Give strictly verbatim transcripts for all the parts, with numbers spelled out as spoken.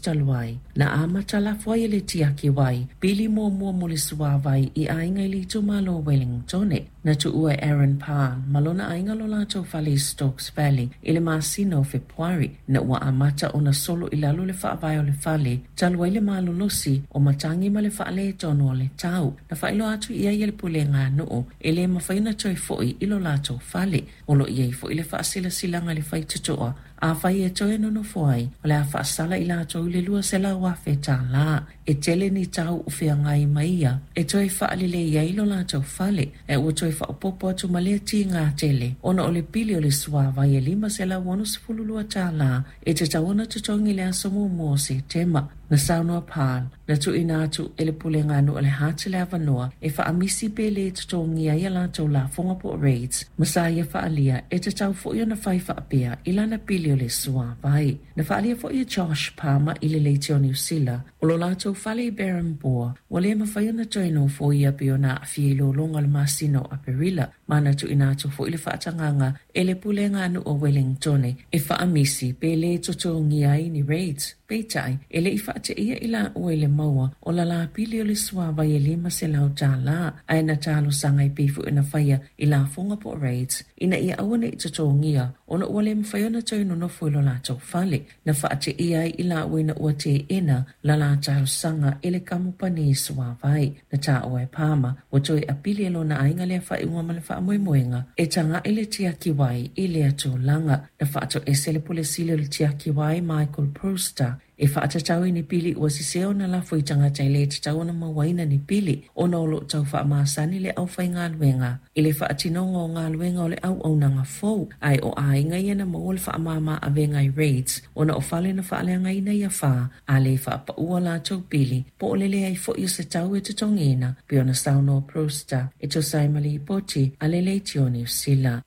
talu ai, na amata lafo ai e le Tiaki Wai pili muamua mo le suāwai i aiga i le itumalo o Wellingtone. Na tuua e Aaron Parr ma lona aiga lo latou fale i Stokes Valley i le masina o Fepuari, ina ua amata ona solo i lalo le faavae o le fale talu ai le malolosi o matagi ma le faaletonu o le tau. Na faailoa atu i ai e le pulega a nuu e le mafai ona toe foi i lo latou fale. O lo o i ai foi le faasilasilaga i le faitotoa afai e toe nonofo ai, o le a faasala i latou i le lua selau afe tālā. E tele ni tau o feagai ma ia e toe faalelei ai lo latou fale, ae ua toe faaopoopo atu ma lea tiga tele ona o le pili o le suāwai e lima selau onosefulu lua tālā e tatau ona totogi i le aso muamua o Setema. Na saunoa Parr, na tuuina atu e le pulega a nuu o le Hutt le avanoa e faamisi pe le totogia ai a latou lafoga po o rates, ma sa ia faaalia e tatau foi ona fai faapea i lana pili o le suāwai. Na faaalia foi e Josh Palmer i le Leitio Niu Sila o lo latou fale i Berhampore ua le mafai ona toe nofoia pei ona aafia i lologa o le masina o Aperila, ma na tuuina atu foi le faatagaga e le pulega a nuu o Wellingtone e faamisi pe le totogia ai ni rates. Peitai, e le i faateia i laua i le maua o la la pili o le suāwai e lima selau tālā, ae na talosaga e pei foi ona faia i lafoga po o rates ina ia aua ne i totogia ona ua le mafai ona toe nonofo i lo latou fale. Na faateia ai i laua ina ua teena la la talosaga e le kamupani suāwai. Na taua e Palmer ua toe apili e lona aiga lea faaiuga ma le faamoemoega e taga'i le Tiaki Wai i lea tulaga. Na faatoese le Pule Sili o le Tiaki Wai Michael Brewster e faatatau i ni pili ua sese ona lafo i tagata e le tatau ona mauaina ni pili ona o lo o tau faamasani le aufaigaluega i le faatinoga o galuega o le auaunaga fou, ae o aiga ia na maua le faamama avega i rates ona o fale na faaleagaina i afa a le faapaua latou pili po o le leai foi o se tau e totogiina pei ona saunoa Brewster e tusa ai ma lipoti a le Leitio Niu Sila.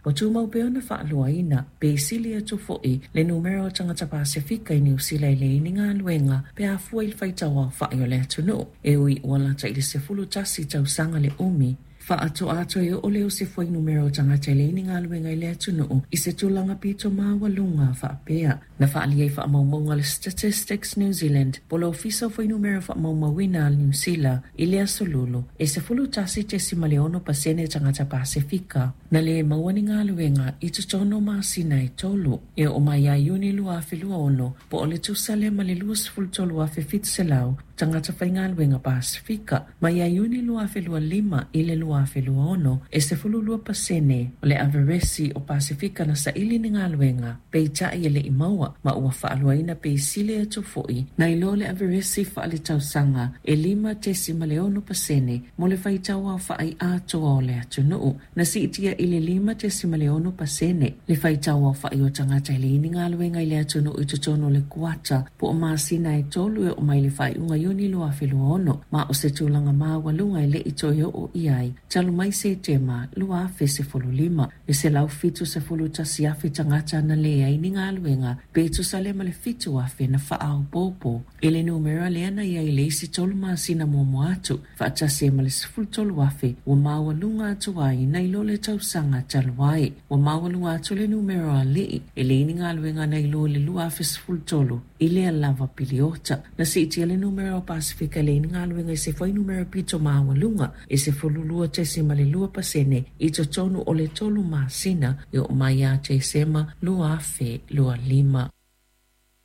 Ua tumau pea ona faaloaina pe sili atu foi le numera o tagata Pasefika i Niu Sila e leai ni galuega pe afua i le faitau aofai o le atunuu e ui ua lata i le sefulu tasi tausaga le umi. Faatoa toe oo lea o se fuainumera o tagata e leai ni galuega i le atunuu i se tulaga pito maualuga faapea. Na faaalia i faamaumauga a le Statistics New Zealand po o le Ofisa o Fuainumera Faamaumauina a Niu Sila i le aso Lulu e sefulu tasi tesima le ono pasene tagata Pasefika na le maua ni galuega i totonu o masina e tolu e oo mai ia Iuni lua afe lua ono po o le tusa lea ma le luasefulu tolu afe fitu selau tagata faigaluega Pasefika. Mai ia Iuni lua afe lua lima i le lua afe lua ono e sefulu lua pasene o le averesi o Pasefika na saili ni galuega peitai e le i maua ma ua faaloaina pe sili atu foi nai lo le averesi faaletausaga e lima tesima le ono pasene mo le faitau aofai atoa o le atunuu. Na siitia i le lima tesima le ono pasene le faitau aofai o tagata e leai ni galuega i le atunuu i totonu o le kuata po o masina e tolu e oo mai le faaiuga Iuni lua afe lua ono ma o se tulaga maualuga e le i toe oo i ai talu mai Setema lua afe sefulu lima. E selau fitu sefulu tasi afe tagata na leai ni galuega pe tusa lea ma le fitu afe na faaopoopo i le numera lea na i ai le isi tolu masina muamua atu faatasi ai ma le sefulu tolu afe ua maualuga atu ai nai lo le tausaga talu ai. Ua maualuga atu le numera o alii e leai ni galuega nai lo le lua afe sefulu tolu i lea lava piliota. Na siitia le numera o Pasefika e leai ni galuega i se fuainumera pito maualuga e sefulu lua tesima le lua pasene i totonu o le tolu masina e oo mai ia Tesema lua afe lua lima.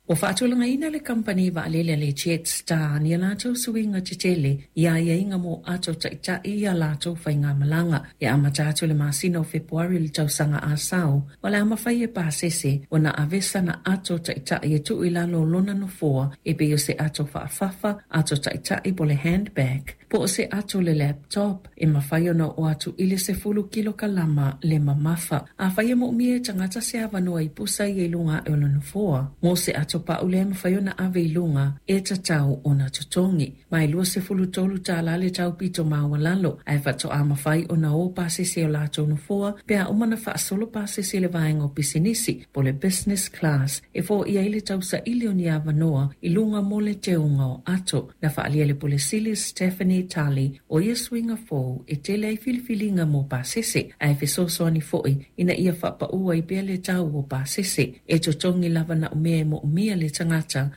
Ua faatulagaina le kamupani vaalele a le Jetstar ni a latou suiga tetele i aiaiga mo ato taʻitaʻi i a latou faigamalaga e amata atu le masina o Fepuari le tausaga asau. O le a mafai e pasese ona ave sana ato taʻitaʻi e tuu i lalo o lona nofoa e pei o se ato faafafa, ato taʻitaʻi po o le handbag, po o se ato le laptop e mafai ona oo atu i le sefulu kilokalama le mamafa. Afai e moomia e tagata se avanoa i pusa ia i luga ae o le nofoa mo se ato pau lea e mafai ona ave i luga e tatau ona totogi. Ma e luasefulu tolu tālā le taupito maualalo ae faatoa mafai ona o pasese o latou nofoa pe a uma na faasolo pasese le vaega o pisinisi po o le business class e foia ai le tausaili o ni avanoa i luga mo le teuga o ato. Na faaalia e le Pule Sili Stephanie Tully o ia suiga fou e tele ai filifiliga mo pasese ae fesoasoani foi ina ia faapaua ai pea le tau o pasese e totogi lava na o mea e moomia le tagata